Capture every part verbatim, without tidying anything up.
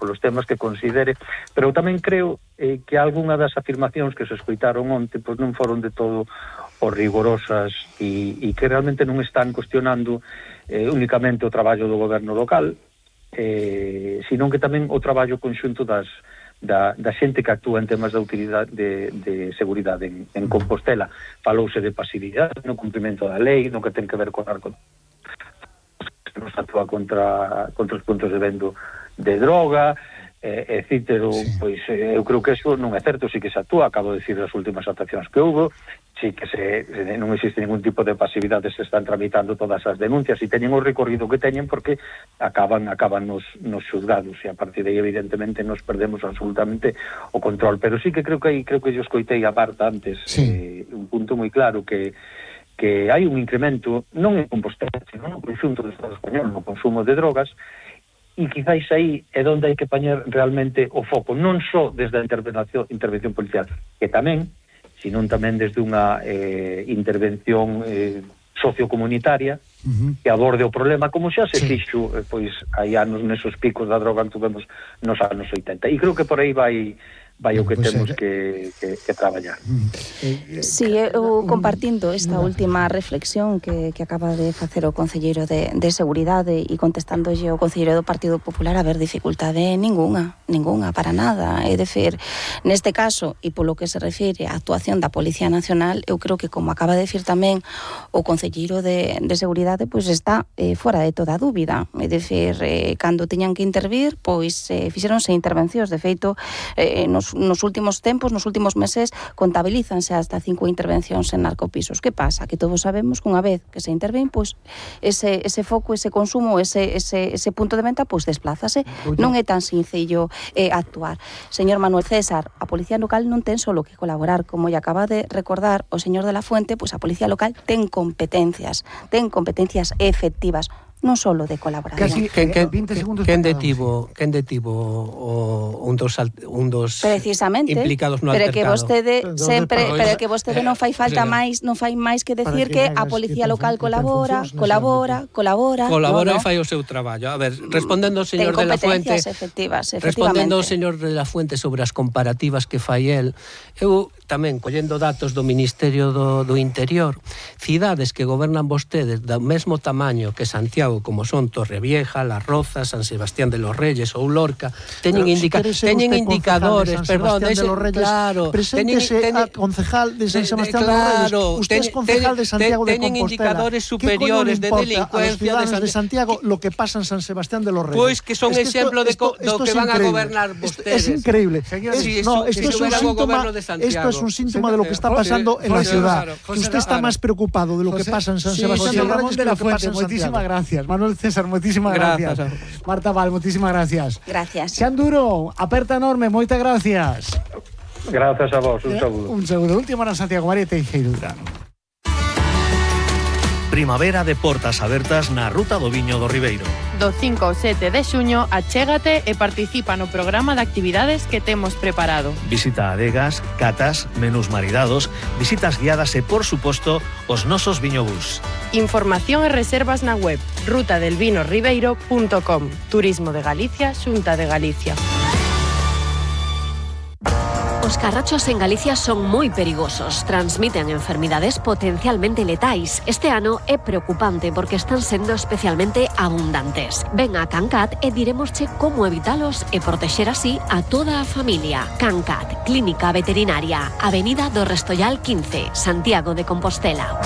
polos temas que considere, pero tamén creo eh, que algunha das afirmacións que se escoitaron onte pois non foron de todo o rigorosas e, e que realmente non están cuestionando eh, únicamente o traballo do goberno local, eh, sino que tamén o traballo conxunto das Da, da xente que actúa en temas de utilidade de, de seguridade en, en Compostela. Falouse de pasividade no cumprimento da lei, no que ten que ver con arco que nos actúa contra, contra os puntos de vendo de droga, eh, etcétera. Sí. Pois eh, eu creo que eso non é certo, sí que se actúa, acabo de decir as últimas actuacións que houve, sí que se, se, non existe ningún tipo de pasividade, se están tramitando todas as denuncias e teñen o recorrido que teñen porque acaban acaban nos, nos xuzgados e a partir de aí evidentemente nos perdemos absolutamente o control, pero sí que creo que aí creo que yo escoitei a Marta antes, sí. eh, un punto moi claro que que hai un incremento non en Compostela, sino no conxunto do Estado español no consumo de drogas e quizáis aí é onde hai que poñer realmente o foco, non só desde a intervención, intervención policial, que tamén sino tamén desde unha eh, intervención eh, sociocomunitaria uh-huh. que aborde o problema, como xa se sí. fixo eh, pois hai anos nesos picos da droga que tuvemos nos anos oitenta. E creo que por aí vai vai o que pues temos que, que, que traballar. Sí, eu compartindo esta última reflexión que, que acaba de facer o concelleiro de, de Seguridade e contestándolle o concelleiro do Partido Popular, a ver, dificultade ningunha, ningunha, para nada. É dicir, neste caso, e polo que se refire á actuación da Policía Nacional, eu creo que, como acaba de decir tamén o concelleiro de, de Seguridade, pois está eh, fora de toda dúbida. É dicir, eh, cando teñan que intervir, pois eh, fixeronse intervencións. De feito, eh, nos nos últimos tempos, nos últimos meses, contabilízanse hasta cinco intervencións en narcopisos. Que pasa? Que todos sabemos que unha vez que se intervén, pois ese, ese foco, ese consumo, ese, ese, ese punto de venta, pois desplázase. Non é tan sencillo eh, actuar. Señor Manuel César, a Policía Local non ten solo que colaborar, como lle acaba de recordar o señor de la Fuente, pois a Policía Local ten competencias, ten competencias efectivas, non solo de colaboración. Casi quen, quen, vinte segundos. Quen detivo, quen detivo o, un dos un dos precisamente implicados no altercado. Pero que vostede sempre, pero, pero que vostede non fai falta máis, non fai máis que decir que, que a Policía Local colabora, colabora, colabora. Colabora no, no. E fai o seu traballo. A ver, respondendo ao señor de la Fuente, efectivas, respondendo ao señor de la Fuente sobre as comparativas que fai el, eu tamén collendo datos do Ministerio do, do Interior, cidades que gobernan vostedes do mesmo tamaño que Santiago, como son Torrevieja, Las Rozas, San Sebastián de los Reyes ou Lorca, teñen, indica si teñen indicadores, de perdón, de los Reyes, claro, preséntese teñen, a concejal de San Sebastián de, de, claro, de los Reyes, usted ten, es concejal de Santiago ten, de Compostela. Teñen indicadores superiores de delincuencia a los de, de Santiago lo que pasa en San Sebastián de los Reyes. Pois pues que son es que exemplo esto, de esto, do esto que van increíble. a gobernar vostedes. Es increíble. Señor, es, si no, esto, esto, si es un síntoma, esto es un síntoma de lo que está pasando en la ciudad. Que usted está más preocupado de lo que pasa en San Sebastián de los Reyes que lo que pasa en Santiago. Muchísimas gracias. Manuel César, muchísimas gracias. gracias. Marta Val, muchísimas gracias. Gracias. Xan Duro, aperta enorme, moitas gracias. Gracias a vos, un saúdo. Un saúdo. Última na Santiago, María Teixeira Durán. Primavera de portas abertas na Ruta do Viño do Ribeiro. Do cinco ao sete de xuño, achégate e participa no programa de actividades que temos preparado. Visita adegas, catas, menús maridados, visitas guiadas e, por suposto, os nosos viñobús. Información e reservas na web ruta del vino ribeiro punto com. Turismo de Galicia, Xunta de Galicia. Os carrachos en Galicia son moi perigosos, transmiten enfermidades potencialmente letais. Este ano é preocupante porque están sendo especialmente abundantes. Ven a Cancat e diremosche como evitalos e protexer así a toda a familia. Cancat, Clínica Veterinaria, Avenida do Restollal quince, Santiago de Compostela.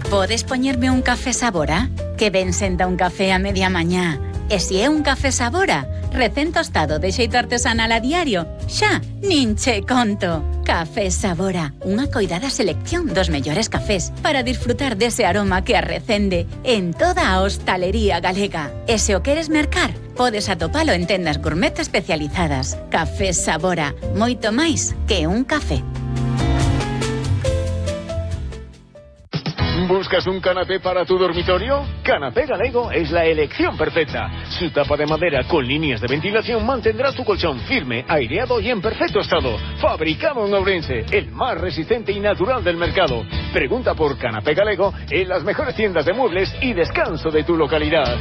Podes poñerme un café Sabora? Que ben senta un café a media mañá. E se é un café Sabora, recén tostado de xeito artesanal a diario, xa, nin che conto. Café Sabora, unha coidada selección dos mellores cafés para disfrutar dese aroma que arrecende en toda a hostalería galega. E se o queres mercar, podes atopalo en tendas gourmet especializadas. Café Sabora, moito máis que un café. ¿Buscas un canapé para tu dormitorio? Canapé Galego es la elección perfecta. Su tapa de madera con líneas de ventilación mantendrá tu colchón firme, aireado y en perfecto estado. Fabricado en Ourense, el más resistente y natural del mercado. Pregunta por Canapé Galego en las mejores tiendas de muebles y descanso de tu localidad.